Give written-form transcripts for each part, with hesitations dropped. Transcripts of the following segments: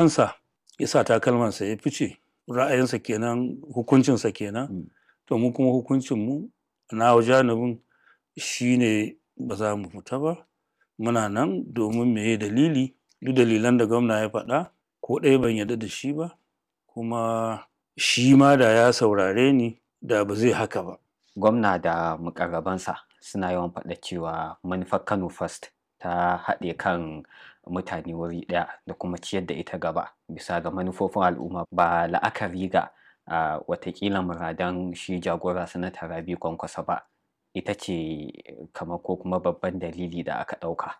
Kansa ya sa takalmansa ya fice, ra'ayinsa kenan, hukuncinsa kenan. To mu kuma hukuncinmu na janibin shine ba za mu fita ba. Muna nan domin meye dalili? Duk dalilan da gwamna ya faɗa ko ɗaya ban yarda da shi ba, kuma shi ma da ya saurare ni da ba zai haka ba. Gwamna da muƙarrabansa suna yawan faɗa cewa manufar Kano First ta haɗe kan mutane wuri ɗaya da kuma ciyar da ita gaba bisa ga manufofin al'umma ba la'akari ga watakila muradan shi jagora Sanata Rabi'u Kwankwaso ba. Ita ce kamar ko kuma babban dalili da aka ɗauka.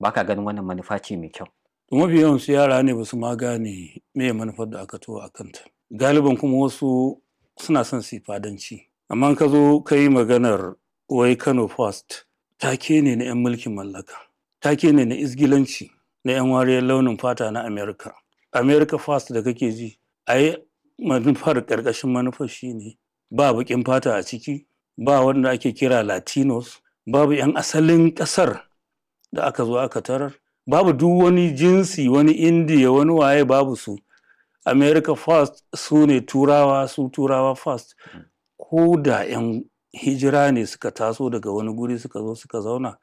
Ba ka ganin wannan manufa ce mai kyau? Mafi yawansu yara ne ba su ma gane meye manufar da aka taho a kanta. Galiban kuma wasu suna son su yi fadanci. Amma in ka zo ka yi maganar wai Kano First, take ne na 'yan mulkin mallaka, take ne na izgilanci na 'yan wariyar launin fata na America. America First da kake ji, ai manufar ƙarƙashin manufar shine ba baƙin fata a ciki, ba wanda ake kira Latinos, babu 'yan asalin ƙasar da aka zo aka tarar, babu duk wani jinsi, wani Indiya, wani waye babu su. America First su ne Turawa, su Turawa First. Ko da 'yan hijira ne suka taso daga wani guri suka zo suka zauna,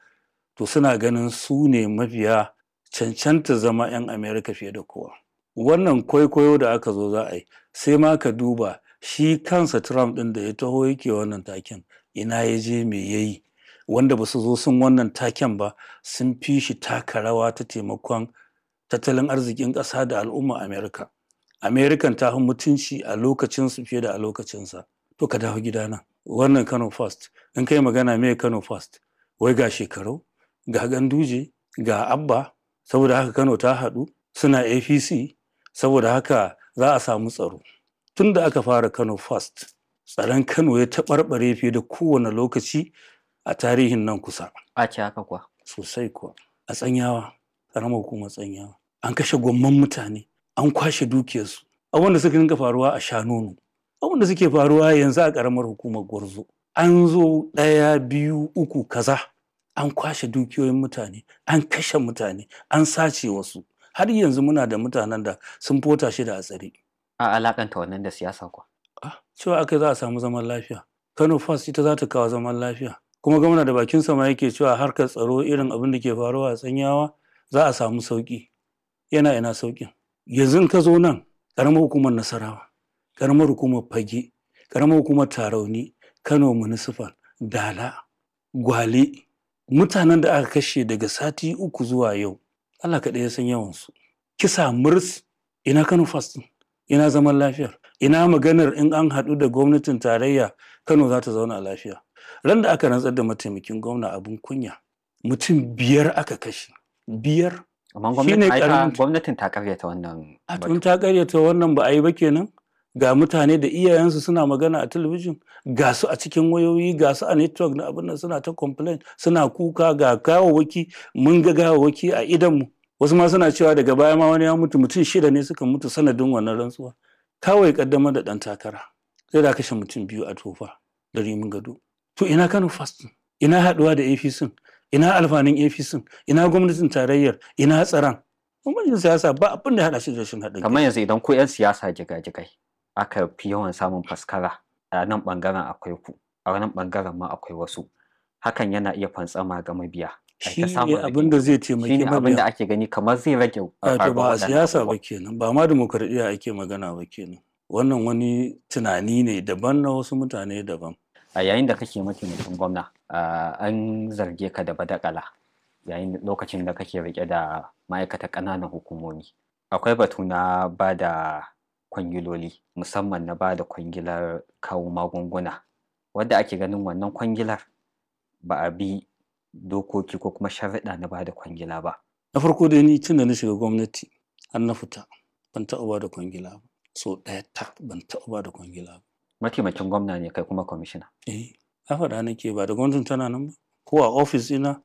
to suna ganin su ne mafiya cancanta zama 'yan America fiye da kowa. Wannan kwaikwayo da aka zo za a yi, sai ma ka duba shi kansa Trump ɗin da ya taho yake wannan taken, ina ya je me ya yi? Wanda ba su zo sun wannan taken ba sun fi shi taka rawa ta taimakon tattalin arzikin ƙasa da al'umma America. American ta fi mutunci a lokacinsu fiye da a lokacinsa. To ka dawo gidana. Wannan Kano First, in kai magana meye Kano First? Wai ga Shekarau, ga Ganduje, ga Abba, saboda haka Kano ta haɗu, suna APC, saboda haka za a samu tsaro. Tun da aka fara Kano First, tsaron Kano ya taɓarɓare fiye da kowane lokaci a tarihin nan kusa. A ce haka kuwa? Sosai kuwa. A Tsanyawa, ƙaramar hukumar Tsanyawa, an kashe gwamman mutane, an kwashe dukiyarsu. Abubuwan da suka dinga faruwa a Shanono, abubuwan da suke faruwa yanzu a ƙaramar hukumar Gwarzo. An zo ɗaya, biyu, uku, kaza, an kwashe dukiyoyin mutane, an kashe mutane, an sace wasu. Har yanzu muna da mutanen da sun fota shida a tsare. A alaƙanta wannan da siyasa kuwa? Ah, cewa aka yi za a samu zaman lafiya. Kano First ita za ta kawo zaman lafiya. Kuma gwamna da bakinsa ma yake cewa harkar tsaro irin abin da ke faruwa a Tsanyawa za a samu sauƙi. Yana ina sauƙin? Yanzu in ka zo nan, ƙaramar hukumar Nasarawa, ƙaramar hukumar Fage, ƙaramar hukumar Tarauni, Kano Municipal, Dala, Gwale, mutanen da aka kashe daga sati uku zuwa yau, Allah kaɗai ya san yawansu. Kisa murs, ina Kano First ɗin? Ina zaman lafiyar? Ina maganar in an haɗu da gwamnatin tarayya Kano za ta zauna lafiya? Ran da aka rantsar da mataimakin gwamna abin kunya, mutum biyar aka kashe. Biyar. Amma Shi ne gwamnatin ai ta ƙaramin gwamnatin ta ƙaryata wannan A batu. tun ta ƙaryata wannan ba a yi ba kenan? Ga mutane da iyayensu suna magana a talabijin, ga su a cikin wayoyi, ga su a network na abin nan suna ta complain, suna kuka ga gawawwaki, mun ga gawawwaki a idonmu. Wasu ma suna cewa daga baya ma wani ya mutu, mutum shida ne suka mutu sanadin wannan rantsuwa. Kawai ƙaddamar da ɗan takara. Sai da kashe mutum biyu a Tofa da Rimin Gado. To ina Kano First ɗin? Ina haɗuwa da APC? Ina alfanun APC? Ina gwamnatin tarayyar? Ina tsaron? Bambancin siyasa ba abin da ya haɗa shi da rashin haɗin kai. Kamar yanzu idan ku 'yan siyasa jigajigai aka fi yawan samun faskara a nan ɓangaren akwai ku, a nan ɓangaren ma akwai wasu. Hakan yana iya fantsama ga mabiya. Ai Shi ta ne samun abin da zai rigingimu. Shi taimaki ne abin da mabiya. ake gani kamar zai rage Wato faruwar ba a waɗannan siyasa ba abubuwan. kenan, ba ma dimokuraɗiyya ake magana ba kenan. Wannan wani tunani ne daban na wasu mutane daban. A yayin da kake mataimakin gwamna, an zarge ka da badakala yayin lokacin da kake riƙe da ma'aikatar ƙananan hukumomi. Akwai batu na ba da kwangiloli, musamman na ba da kwangilar kawo magunguna, wadda ake ganin wannan kwangilar ba a bi dokoki ko kuma sharuɗa na ba da kwangila ba. Na farko dai ni tun da na shiga gwamnati har na fita ban taɓa ba da kwangila ba. So ɗaya tak ban taɓa ba da kwangila ba. Mataimakin gwamna ne kai kuma kwamishina. Eh, na faɗa nake ba da gwamnatin tana nan ba. Ko a ofis ɗina